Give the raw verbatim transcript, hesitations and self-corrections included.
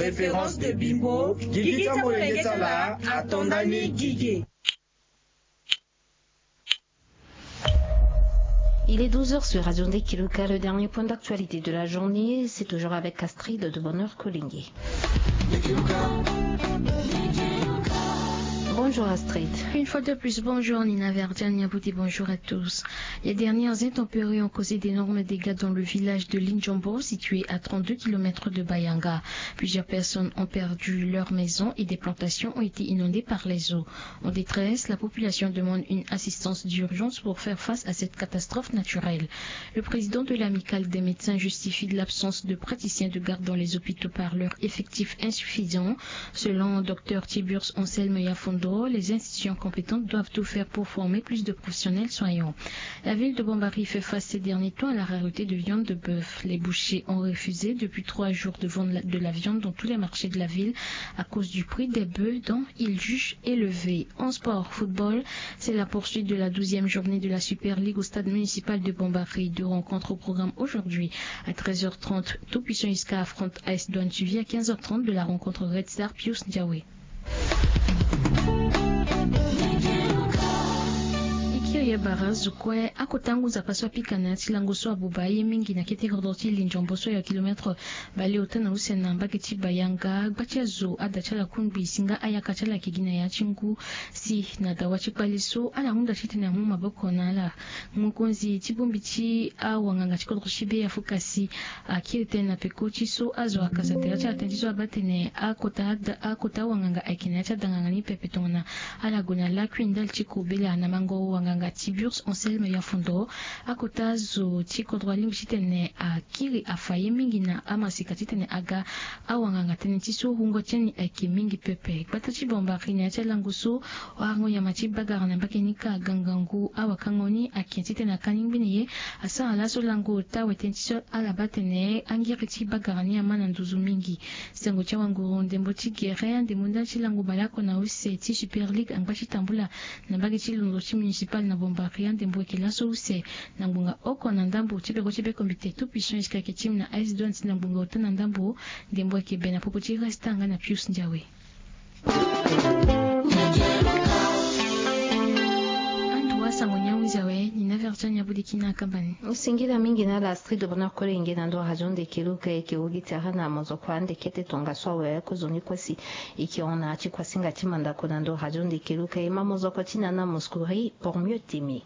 Référence de Bimbo, gigi ti amolenge ti ala ato ndani gigi. Il est douze heures sur Radio Ndekiluka. Le dernier point d'actualité de la journée, c'est toujours avec Astrid de Bonheur Kolingué. Bonjour Astrid. Une fois de plus, bonjour Nina Verdiane Yabouti, bonjour à tous. Les dernières intempéries ont causé d'énormes dégâts dans le village de Linjombo, situé à trente-deux kilomètres de Bayanga. Plusieurs personnes ont perdu leur maison et des plantations ont été inondées par les eaux. En détresse, la population demande une assistance d'urgence pour faire face à cette catastrophe naturelle. Le président de l'Amicale des médecins justifie l'absence de praticiens de garde dans les hôpitaux par leur effectif insuffisant. Selon Dr Tiburce Anselme Yafondo, les institutions compétentes doivent tout faire pour former plus de professionnels soignants. La ville de Bombari fait face ces derniers temps à la rareté de viande de bœuf. Les bouchers ont refusé depuis trois jours de vendre la- de la viande dans tous les marchés de la ville à cause du prix des bœufs dont ils jugent élevé. En sport, football, c'est la poursuite de la douzième journée de la Super League au stade municipal de Bombari. Deux rencontres au programme aujourd'hui. À treize heures trente, Tout Puissant Iska affronte A S Douane Suivi. À quinze heures trente, de la rencontre Red Star Pius Ndiawe. E kiri e bara zo kue akota ngu nzapa so apika na ya ti lango so abuba aye mingi na kete kodro ti Linjombo so ayo kilomètre baleota na use na mbage ti Bayanga. Gba ti azo ada ti ala kungbi si nga ayaka ti ala ayeke gi na ya ti ngu. Si na dawa ti kpale so ala hunda titene amu maboko na ala. Mokonzi ti bongbi ti awanganga ti kodro ti be afuka si akiri tënë na peko ti so azo akasa tere ti ala tënë ti so abaa tene akota ada- akota awanganga ayeke na ya ti adanganga ni pepe tongana ala gue na lakui ndali ti kobela na mango wanganga Tiburce Anselme Yafondo. Akota zo ti kodro alingbi titene akiri afa ye mingi na amasika titene aga awanganga tënë ti so wungo ti ni ayeke mingi pepe. Gbata ti Bombari na ya ti alango so arango nyama ti bagara na mbage ni ka agangangu awakango ni ake titene akani ngbene ye. Asara laso lango ota wetene ti so ala baa tene angiri ti bagara ni ama na nduzu mingi. Sango ti awanguru ndembo ti gere andembo ndali ti lango baleoko na use ti Super League angba ti tambula na mbage ti londo ti municipal na Bombari andembo ayeke laso use na ngbonga oko na ndambo ti beko ti beko mbite Tout Puissant Iska ayeke ti mu na A S Douane ti na ngbonga ota na ndambo. Ndembo ayeke be na popo ti Resta nga na Pius Ndiawe. Anduwa sango ni ahunzi awe ni na version ni abudiki na akamba ni. Singila mingi na ala Astrid Bonheur Kolenge na ndo radio Ndekeluka. Eke wagi tere na mozoko ande kete tongaso awe kozoni kue si eke hon na ya ti kuasinga ti mandako na ndo radio Ndekeluka. E ma mozoko ti na na Mouskouri pour mieux t'aimer.